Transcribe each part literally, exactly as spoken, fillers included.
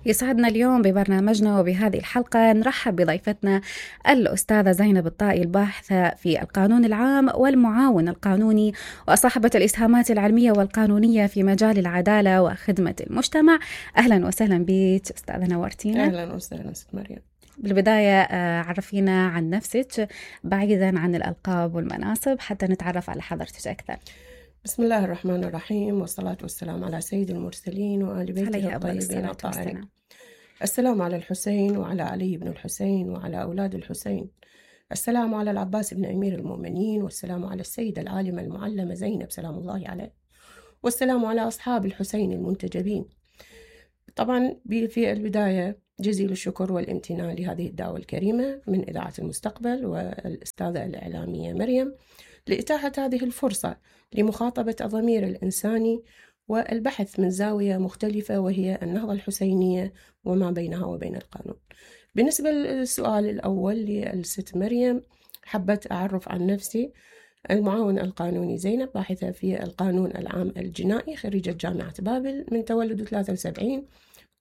يسعدنا اليوم ببرنامجنا وبهذه الحلقة نرحب بضيفتنا الأستاذة زينب الطائي، الباحثة في القانون العام والمعاون القانوني وصاحبة الإسهامات العلمية والقانونية في مجال العدالة وخدمة المجتمع. أهلا وسهلا بك أستاذة، نورتينا. أهلا وسهلا ست مريم. بالبداية عرفينا عن نفسك بعيدا عن الألقاب والمناصب حتى نتعرف على حضرتك أكثر. بسم الله الرحمن الرحيم، والصلاة والسلام على سيد المرسلين وآل بيته الطيبين الطاهرين. السلام على الحسين وعلى علي بن الحسين وعلى أولاد الحسين. السلام على العباس بن أمير المؤمنين، والسلام على السيدة العالمة المعلمة زينب سلام الله عليه، والسلام على أصحاب الحسين المنتجبين. طبعا في البداية جزيل الشكر والامتنان لهذه الدعوة الكريمة من إذاعة المستقبل والأستاذة الإعلامية مريم لإتاحة هذه الفرصة لمخاطبة الضمير الإنساني والبحث من زاوية مختلفة وهي النهضة الحسينية وما بينها وبين القانون. بالنسبة للسؤال الأول للست مريم، حبت أعرف عن نفسي. المعاون القانوني زينب، باحثة في القانون العام الجنائي، خريجة جامعة بابل، من تولد ثلاثة وسبعين،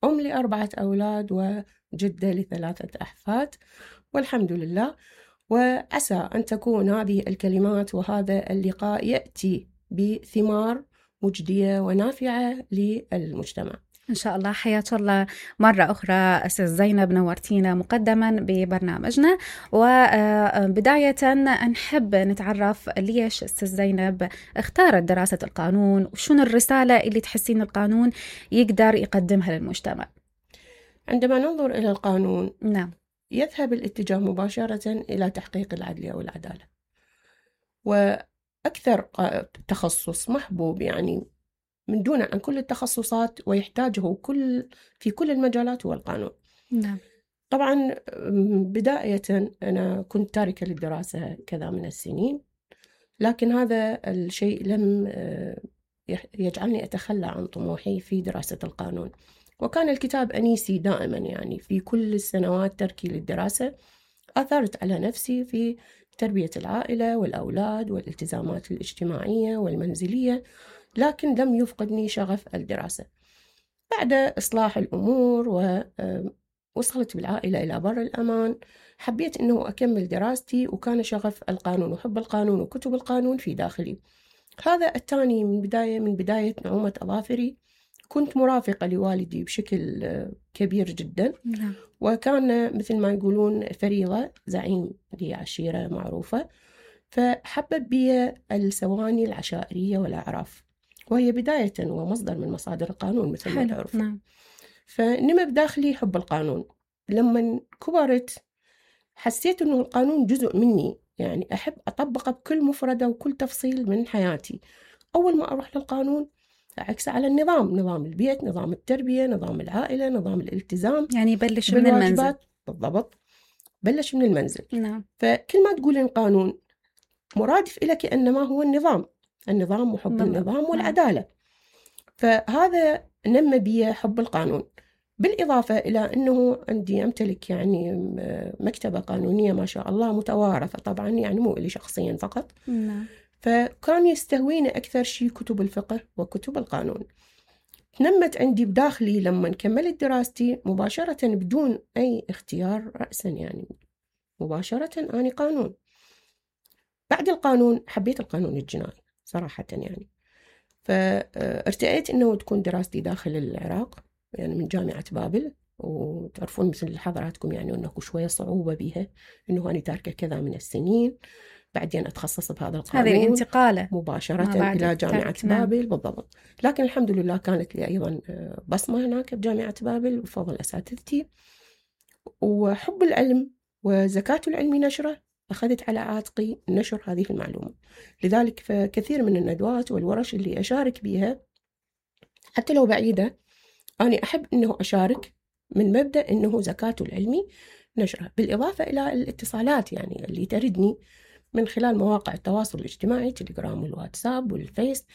أم لأربعة أولاد وجدة لثلاثة أحفاد والحمد لله. وعسى أن تكون هذه الكلمات وهذا اللقاء يأتي بثمار مجدية ونافعة للمجتمع إن شاء الله. حياك الله مرة أخرى أستاذ زينب، نورتينا مقدما ببرنامجنا. وبداية نحب نتعرف ليش أستاذ زينب اختارت دراسة القانون، وشون الرسالة اللي تحسين القانون يقدر يقدمها للمجتمع؟ عندما ننظر إلى القانون نعم يذهب الاتجاه مباشرة إلى تحقيق العدل والعدالة، وأكثر تخصص محبوب يعني من دون عن كل التخصصات ويحتاجه كل في كل المجالات هو القانون. نعم. طبعا بداية أنا كنت تاركة للدراسة كذا من السنين، لكن هذا الشيء لم يجعلني أتخلى عن طموحي في دراسة القانون، وكان الكتاب أنيسي دائما. يعني في كل السنوات تركي للدراسة أثرت على نفسي في تربية العائلة والأولاد والالتزامات الاجتماعية والمنزلية، لكن لم يفقدني شغف الدراسة. بعد إصلاح الأمور ووصلت بالعائلة إلى بر الأمان، حبيت أنه أكمل دراستي، وكان شغف القانون وحب القانون وكتب القانون في داخلي. هذا الثاني من بداية من بداية نعومة أظافري. كنت مرافقة لوالدي بشكل كبير جدا، وكان مثل ما يقولون فريضة، زعيم لعشيرة معروفة، فحبب بي السواني العشائرية والأعراف، وهي بداية ومصدر من مصادر القانون مثل ما تعرف. نعم. فنمى بداخلي حب القانون. لما كبرت حسيت أنه القانون جزء مني، يعني أحب أطبقه بكل مفردة وكل تفصيل من حياتي. أول ما أروح للقانون أعكس على النظام، نظام البيت، نظام التربية، نظام العائلة، نظام الالتزام. يعني بلش من المنزل. بالضبط، بلش من المنزل. نعم. فكل ما تقول القانون مرادف إلى كأنما هو النظام، النظام وحب بالضبط. النظام والعدالة. فهذا نمى بي حب القانون، بالإضافة إلى أنه عندي أمتلك يعني مكتبة قانونية ما شاء الله متوارثة طبعا، يعني مو إلي شخصيا فقط. نعم. فكان يستهويني أكثر شيء كتب الفقه وكتب القانون. نمت عندي بداخلي لما كملت دراستي مباشرة بدون أي اختيار رأسا، يعني مباشرة أنا قانون. بعد القانون حبيت القانون الجنائي صراحة يعني، فارتأيت أنه تكون دراستي داخل العراق، يعني من جامعة بابل. وتعرفون مثل حضراتكم يعني أنه شوية صعوبة بها، أنه أنا تاركة كذا من السنين، بعدين أتخصص بهذا القانون، هذه الانتقالة مباشرة إلى جامعة نعم. بابل. بالضبط. لكن الحمد لله كانت لي أيضا بصمة هناك بجامعة بابل بفضل أساتذتي، وحب العلم وزكاة العلم نشره أخذت على عاتقي نشر هذه المعلومة. لذلك فكثير من الندوات والورش اللي أشارك بها حتى لو بعيدة، أنا أحب أنه أشارك من مبدأ أنه زكاة العلم نشره، بالإضافة إلى الاتصالات يعني اللي تردني من خلال مواقع التواصل الاجتماعي، تليجرام والواتساب والفيس،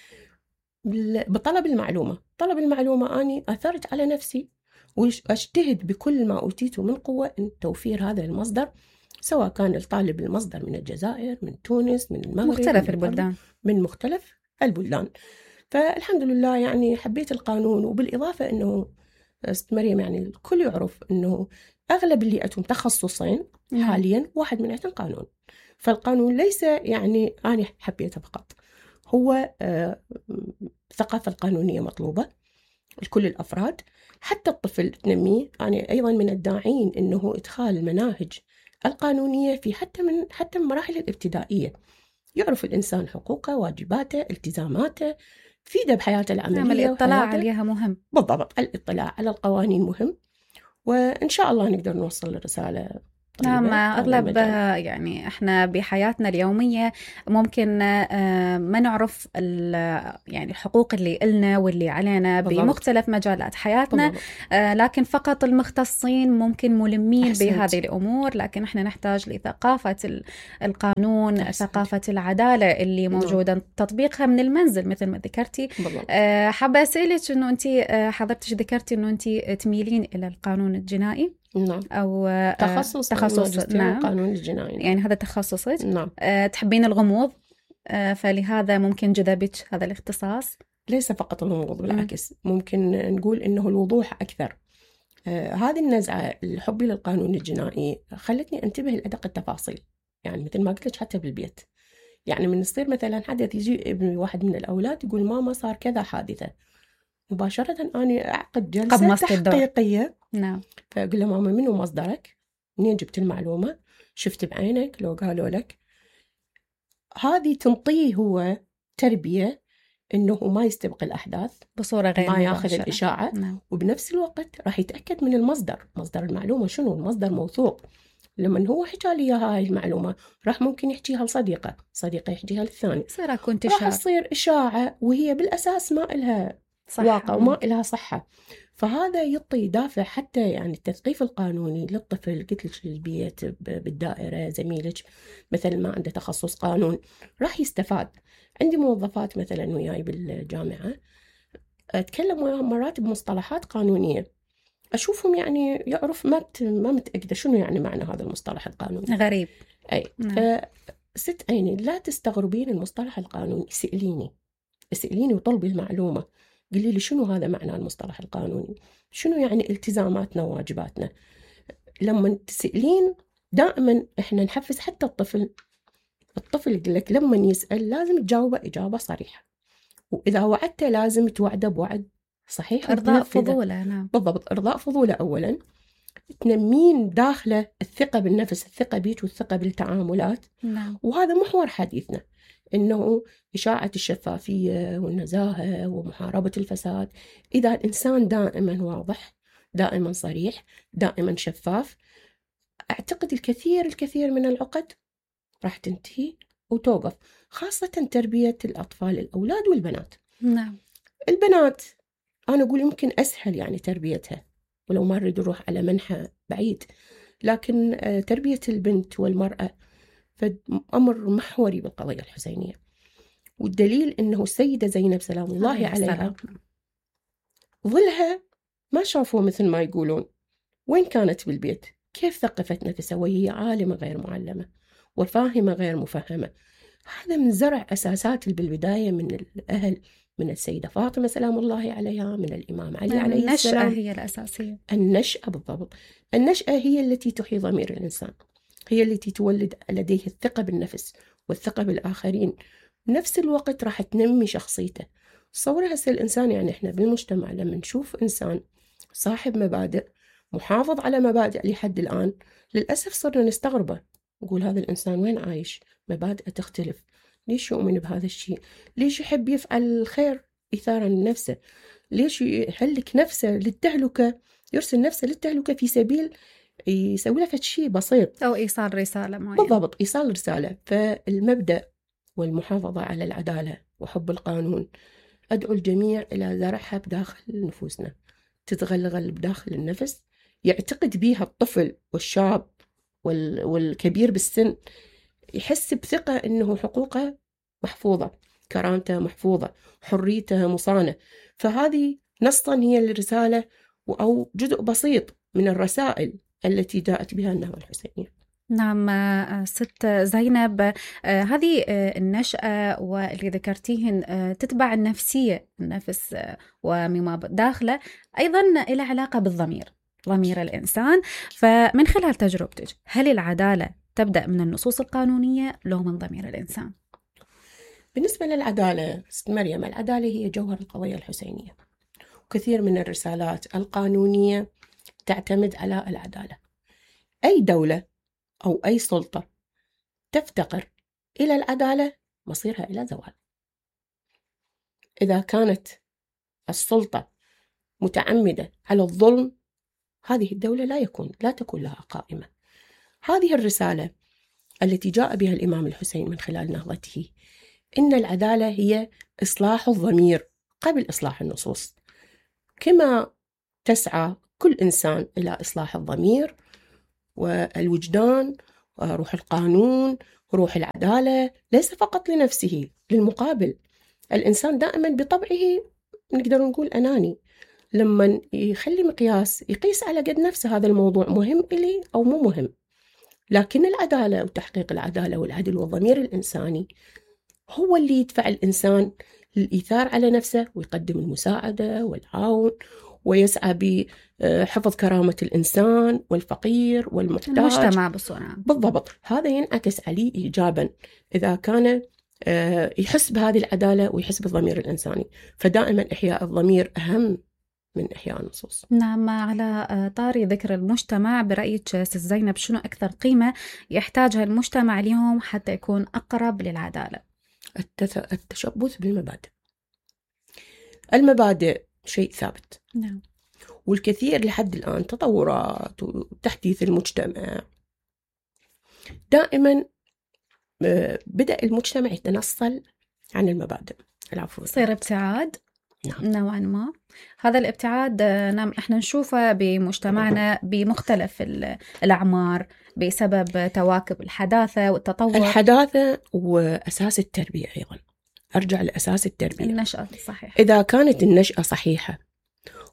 بطلب المعلومة. طلب المعلومة أني أثرت على نفسي وأجتهد بكل ما أوتيته من قوة إن توفير هذا المصدر، سواء كان الطالب المصدر من الجزائر، من تونس، من المغرب، مختلف البلدان، من مختلف البلدان. فالحمد لله يعني حبيت القانون، وبالإضافة أنه ست مريم يعني الكل يعرف أنه أغلب اللي عندهم تخصصين حاليا واحد من عندهم قانون. فالقانون ليس يعني أنا حبيته فقط، هو الثقافة القانونية مطلوبة لكل الأفراد، حتى الطفل تنميه. أنا أيضا من الداعين أنه إدخال المناهج القانونية في حتى من حتى من مراحل الابتدائية، يعرف الإنسان حقوقه، واجباته، التزاماته، فيده بحياته العملية. نعم، الاطلاع عليها مهم. بالضبط، الاطلاع على القوانين مهم، وإن شاء الله نقدر نوصل الرسالة. نعم، أغلب يعني إحنا بحياتنا اليومية ممكن ما نعرف يعني الحقوق اللي إلنا واللي علينا بالضبط. بمختلف مجالات حياتنا بالضبط. لكن فقط المختصين ممكن ملمين أحسنت. بهذه الأمور، لكن إحنا نحتاج لثقافة القانون، أحسنت. ثقافة العدالة اللي موجودة بالضبط. تطبيقها من المنزل مثل ما ذكرتي. حابة أسألك إنه أنت حضرتك ذكرتي إنه أنت تميلين إلى القانون الجنائي. نعم. أو تخصص تخصص نعم. القانون الجنائي. يعني هذا تخصصك. نعم. أه تحبين الغموض، أه فلهذا ممكن جذبك هذا الاختصاص. ليس فقط الغموض، بالعكس ممكن نقول إنه الوضوح أكثر. أه هذه النزعة الحب للقانون الجنائي خلتني أنتبه لأدق التفاصيل، يعني مثل ما قلت لك حتى بالبيت. يعني من يصير مثلا حدث، يجي ابن واحد من الأولاد يقول ماما صار كذا حادثة، مباشرة أنا أعقد جلسة تحقيقية. نعم. فأقول له ماما منو مصدرك؟ منين جبت المعلومة؟ شفت بعينك؟ لو قالوا لك؟ هذه تنطيه هو تربية إنه ما يستبق الأحداث بصورة غير ما يأخذ الإشاعة. نعم. وبنفس الوقت راح يتأكد من المصدر، مصدر المعلومة شنو؟ المصدر موثوق. لما هو حكى لي هاي المعلومة راح ممكن يحكيها لصديقة، صديقة يحكيها للثاني، راح تصير إشاعة وهي بالأساس ما إلها واقع وما إلها صحة. فهذا يعطي دافع حتى يعني التثقيف القانوني للطفل. قلت لك البيت، بالدائرة، زميلك مثلا ما عنده تخصص قانون راح يستفاد. عندي موظفات مثلا وياي بالجامعة أتكلم وياهم مرات بمصطلحات قانونية، أشوفهم يعني يعرف ما ما متأكدة شنو يعني معنى هذا المصطلح القانوني، غريب. أي نعم. ست عيني لا تستغربين المصطلح القانوني، سئليني سئليني وطلبي المعلومة، قولي لي شنو هذا معنى المصطلح القانوني، شنو يعني التزاماتنا وواجباتنا. لما تسألين دائما احنا نحفز حتى الطفل. الطفل يقول لك لما يسأل لازم تجاوبه إجابة صريحة، وإذا وعدته لازم توعده بوعد صحيح. إرضاء فضوله. نعم بالضبط، إرضاء فضوله أولا. تنمين داخله الثقة بالنفس، الثقة بيك والثقة بالتعاملات. نعم. وهذا محور حديثنا، إنه إشاعة الشفافية والنزاهة ومحاربة الفساد. إذا الإنسان دائما واضح، دائما صريح، دائما شفاف، أعتقد الكثير الكثير من العقد راح تنتهي وتوقف، خاصة تربية الأطفال، الأولاد والبنات. نعم. البنات أنا أقول يمكن أسهل يعني تربيتها، ولو ما نريد نروح على منحى بعيد، لكن تربية البنت والمرأة فأمر محوري بالقضية الحسينية. والدليل أنه السيدة زينب سلام الله عليها ظلها ما شافوا مثل ما يقولون. وين كانت بالبيت؟ كيف ثقفت نفسها وهي عالمة غير معلمة وفاهمة غير مفهمة؟ هذا من زرع أساسات بالبداية من الأهل، من السيدة فاطمة سلام الله عليها، من الإمام علي عليه السلام. النشأة هي الأساسية. النشأة بالضبط، النشأة هي التي تحيي ضمير الإنسان، هي التي تولد لديه الثقة بالنفس والثقة بالآخرين، بنفس الوقت راح تنمي شخصيته. تصور هسه الإنسان، يعني إحنا بالمجتمع لما نشوف إنسان صاحب مبادئ، محافظ على مبادئ لحد الآن، للأسف صرنا نستغربه، نقول هذا الإنسان وين عايش؟ مبادئه تختلف، ليش يؤمن بهذا الشيء؟ ليش يحب يفعل الخير إثارا لنفسه؟ ليش يهلك نفسه للتهلكة، يرسل نفسه للتهلكة في سبيل يسوي له شيء بسيط أو إيصال رسالة معينة؟ بالضبط، إيصال رسالة. فالمبدأ والمحافظة على العدالة وحب القانون أدعو الجميع إلى زرعها بداخل نفوسنا، تتغلغل بداخل النفس، يعتقد بيها الطفل والشاب والكبير بالسن، يحس بثقة إنه حقوقه محفوظة، كرامته محفوظة، حريته مصانة. فهذه نصا هي الرسالة أو جزء بسيط من الرسائل التي جاءت بها النهضة الحسينية. نعم ست زينب، هذه النشأة واللي ذكرتيهن تتبع النفسية، النفس ومما داخله أيضا إلى علاقة بالضمير، ضمير الإنسان. فمن خلال تجربتك، هل العدالة تبدأ من النصوص القانونية لو من ضمير الإنسان؟ بالنسبة للعدالة ست مريم، العدالة هي جوهر القضية الحسينية، وكثير من الرسالات القانونية تعتمد على العدالة. أي دولة أو أي سلطة تفتقر إلى العدالة مصيرها إلى زوال. إذا كانت السلطة متعمدة على الظلم، هذه الدولة لا يكون لا تكون لها قائمة. هذه الرسالة التي جاء بها الإمام الحسين من خلال نهضته، إن العدالة هي إصلاح الضمير قبل إصلاح النصوص. كما تسعى كل إنسان إلى إصلاح الضمير والوجدان وروح القانون وروح العدالة، ليس فقط لنفسه، للمقابل. الإنسان دائما بطبعه نقدر نقول أناني، لما يخلي مقياس يقيس على قد نفسه، هذا الموضوع مهم إلي أو مو مهم. لكن العدالة وتحقيق العدالة والعدل والضمير الإنساني هو اللي يدفع الإنسان للإيثار على نفسه ويقدم المساعدة والعون، ويسعى بحفظ كرامة الإنسان والفقير والمحتاج، المجتمع بصورة. بالضبط. هذا ينعكس عليه إيجابا إذا كان يحس بهذه العدالة ويحس بالضمير الإنساني. فدائما إحياء الضمير أهم من إحياء النصوص. نعم، على طاري ذكر المجتمع، برأيك ست زينب شنو أكثر قيمة يحتاجها المجتمع اليوم حتى يكون أقرب للعدالة؟ التشبث بالمبادئ. المبادئ شيء ثابت. نعم. والكثير لحد الآن تطورات وتحديث المجتمع، دائما بدأ المجتمع يتنصل عن المبادئ. العفو، صير ابتعاد. نعم. نوعا ما هذا الابتعاد نعم احنا نشوفه بمجتمعنا بمختلف الأعمار بسبب تواكب الحداثة والتطور. الحداثة وأساس التربية أيضا. أرجع لأساس التربية، النشأة صحيح. إذا كانت النشأة صحيحة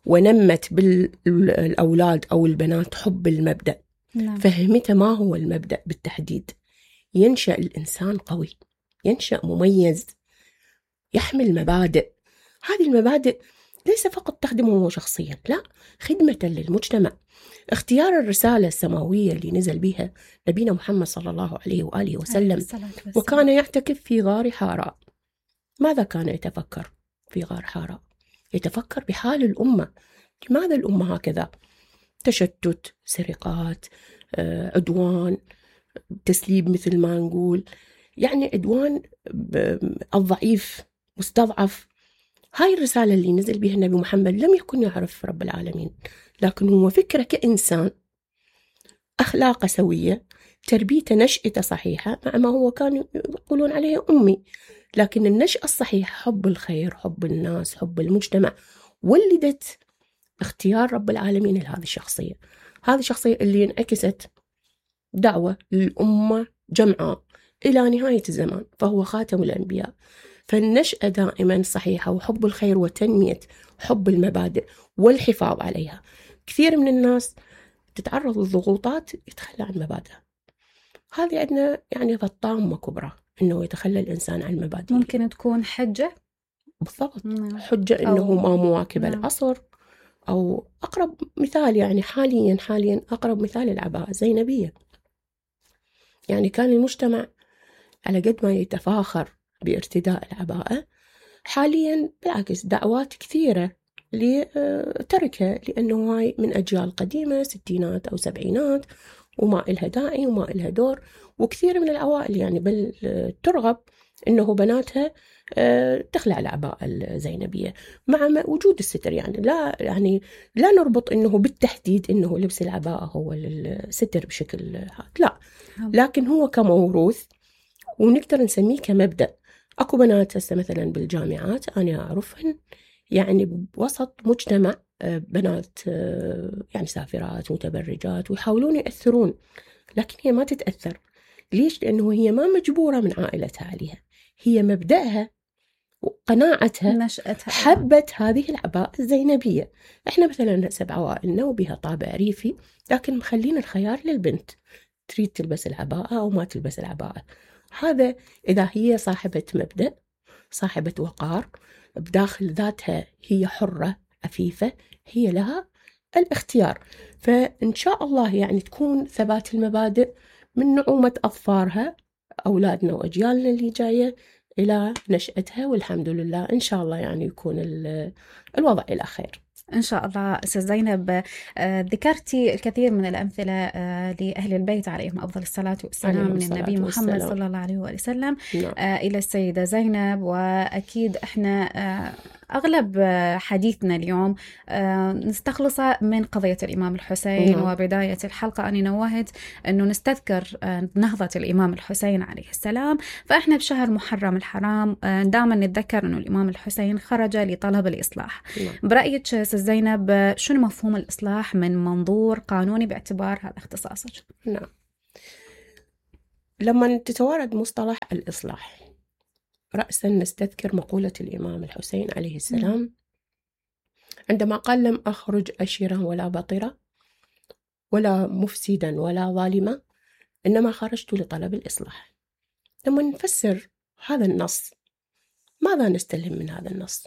ونمت بالأولاد أو البنات حب المبدأ، نعم. فهمت ما هو المبدأ بالتحديد، ينشأ الإنسان قوي، ينشأ مميز، يحمل مبادئ. هذه المبادئ ليس فقط تخدمه هو شخصيا، لا، خدمة للمجتمع. اختيار الرسالة السماوية اللي نزل بها نبينا محمد صلى الله عليه وآله وسلم، وكان يعتكف في غار حراء. ماذا كان يتفكر في غار حراء؟ يتفكر بحال الأمة. لماذا الأمة هكذا؟ تشتت، سرقات، عدوان، تسليب مثل ما نقول، يعني عدوان الضعيف مستضعف. هاي الرسالة اللي نزل بها النبي محمد لم يكن يعرف رب العالمين، لكن هو فكرة كإنسان، أخلاقه سوية، تربيته نشأته صحيحة، مع ما هو كانوا يقولون عليه أمي، لكن النشأة الصحيحة حب الخير، حب الناس، حب المجتمع، ولدت اختيار رب العالمين لهذه الشخصية. هذه الشخصية اللي انعكست دعوة للأمة جمعاء إلى نهاية الزمان، فهو خاتم الأنبياء. فالنشأة دائما صحيحة، وحب الخير وتنمية حب المبادئ والحفاظ عليها. كثير من الناس تتعرض للضغوطات يتخلى عن مبادئه. هذه عندنا يعني طامة كبرى إنه يتخلى الإنسان عن مبادئه. ممكن تكون حجة. بالضبط. نعم. حجة إنه ما مواكب نعم. العصر. أو أقرب مثال يعني حاليا حاليا أقرب مثال العباءة الزينبية. يعني كان المجتمع على قد ما يتفاخر بارتداء العباءة، حاليا بالعكس دعوات كثيرة لتركها، لأنه هاي من أجيال قديمة ستينات أو سبعينات وما إلها داعي وما إلها دور. وكثير من العوائل يعني بل ترغب إنه بناتها تخلع العباءة الزينبية مع وجود الستر. يعني لا يعني لا نربط إنه بالتحديد إنه لبس العباءة هو الستر بشكل هذا، لا، لكن هو كموروث ونقدر نسميه كمبدأ. أكو بنات هسه مثلا بالجامعات أنا أعرفهن يعني بوسط مجتمع بنات يعني سافرات متبرجات ويحاولون يأثرون، لكن هي ما تتأثر. ليش؟ لأنه هي ما مجبورة من عائلتها عليها، هي مبدأها وقناعتها نشأتها حبت هذه العباءة الزينبية. احنا مثلا هسه بعوائلنا وبها طابع ريفي، لكن مخلين الخيار للبنت تريد تلبس العباءة أو ما تلبس العباءة. هذا إذا هي صاحبة مبدأ، صاحبة وقار، بداخل ذاتها هي حرة عفيفة، هي لها الاختيار. فإن شاء الله يعني تكون ثبات المبادئ من نعومة أظفارها أولادنا وأجيالنا اللي جاية إلى نشأتها، والحمد لله إن شاء الله يعني يكون الوضع إلى خير إن شاء الله. أستاذ زينب، ذكرتي الكثير من الأمثلة لأهل البيت عليهم أفضل الصلاة والسلام، من النبي محمد صلى الله عليه وسلم إلى السيدة زينب. وأكيد إحنا أغلب حديثنا اليوم نستخلص من قضية الإمام الحسين. نعم. وبداية الحلقة أنا نوهت أنه نستذكر نهضة الإمام الحسين عليه السلام، فإحنا بشهر محرم الحرام دائما نتذكر أنه الإمام الحسين خرج لطلب الإصلاح. نعم. برأيك زينب شنو مفهوم الإصلاح من منظور قانوني باعتبار هذا اختصاصك؟ نعم، لما تتوارد مصطلح الإصلاح رأسا نستذكر مقولة الإمام الحسين عليه السلام عندما قال: لم أخرج أشرا ولا بطرا ولا مفسدا ولا ظالما، إنما خرجت لطلب الإصلاح. لما نفسر هذا النص ماذا نستلهم من هذا النص؟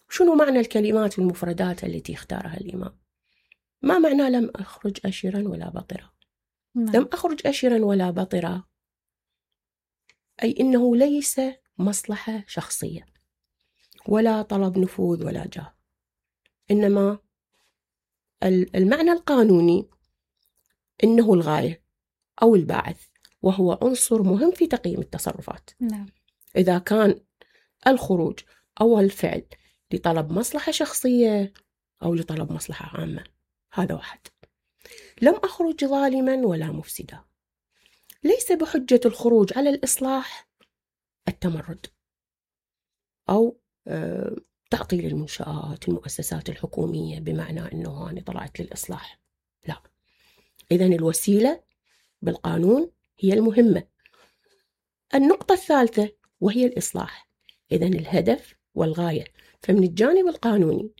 شنو معنى الكلمات والمفردات التي اختارها الإمام؟ ما معنى لم أخرج أشرا ولا بطرا؟ لم أخرج أشرا ولا بطرا أي إنه ليس مصلحة شخصية ولا طلب نفوذ ولا جاه، إنما المعنى القانوني إنه الغاية أو الباعث، وهو عنصر مهم في تقييم التصرفات. نعم. إذا كان الخروج أو الفعل لطلب مصلحة شخصية أو لطلب مصلحة عامة، هذا واحد. لم أخرج ظالما ولا مفسدا، ليس بحجة الخروج على الإصلاح التمرد أو تعطيل المنشآت المؤسسات الحكومية بمعنى أنه أنا طلعت للإصلاح، لا. إذن الوسيلة بالقانون هي المهمة. النقطة الثالثة وهي الإصلاح، إذن الهدف والغاية. فمن الجانب القانوني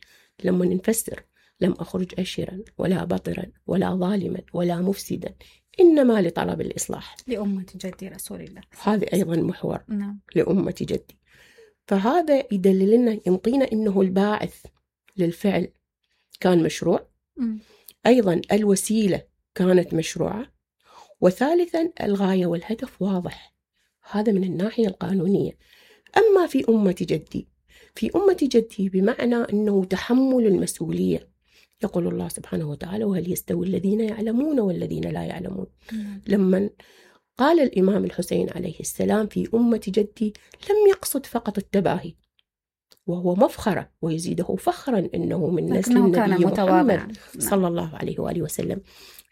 لما نفسر لم أخرج أشرا ولا بطرا ولا ظالما ولا مفسدا إنما لطلب الإصلاح لأمة جدي رسول الله، هذا أيضا محور. نعم. لأمة جدي. فهذا يدلل لنا، ينطينا إنه الباعث للفعل كان مشروع، م. أيضا الوسيلة كانت مشروعة، وثالثا الغاية والهدف واضح. هذا من الناحية القانونية. أما في أمة جدي، في أمة جدي بمعنى أنه تحمل المسؤولية. يقول الله سبحانه وتعالى: وهل يستوي الذين يعلمون والذين لا يعلمون. م. لما قال الإمام الحسين عليه السلام في أمة جدي لم يقصد فقط التباهي، وهو مفخرة ويزيده فخرا أنه من نسل النبي محمد صلى الله عليه وآله وسلم،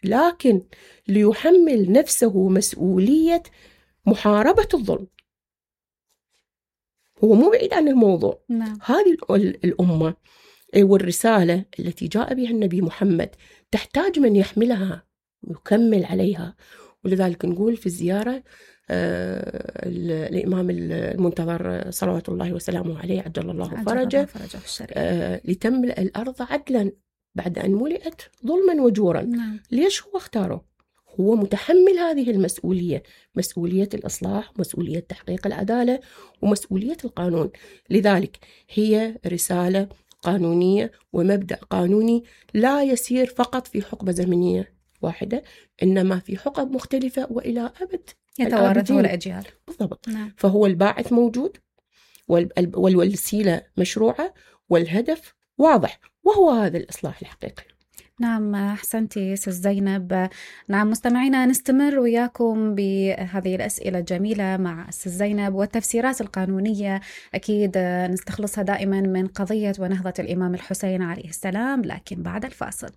لكن ليحمل نفسه مسؤولية محاربة الظلم. هو مو بعيد عن الموضوع. نعم. هذه الأمة والرسالة التي جاء بها النبي محمد تحتاج من يحملها ويكمل عليها. ولذلك نقول في الزيارة آه الإمام المنتظر صلوات الله وسلامه عليه عجل الله فرجه، آه لتملأ الأرض عدلا بعد أن ملئت ظلما وجورا. نعم. ليش هو اختاره؟ هو متحمل هذه المسؤولية، مسؤولية الإصلاح، مسؤولية تحقيق العدالة، ومسؤولية القانون. لذلك هي رسالة قانونية ومبدأ قانوني لا يسير فقط في حقبة زمنية واحدة، إنما في حقب مختلفة وإلى أبد يتوارثه الأجيال. بالضبط. نعم. فهو الباعث موجود والوسيلة مشروعة والهدف واضح، وهو هذا الإصلاح الحقيقي. نعم، أحسنتي ست زينب. نعم مستمعينا، نستمر وياكم بهذه الأسئلة الجميلة مع ست زينب، والتفسيرات القانونية أكيد نستخلصها دائما من قضية ونهضة الإمام الحسين عليه السلام، لكن بعد الفاصل.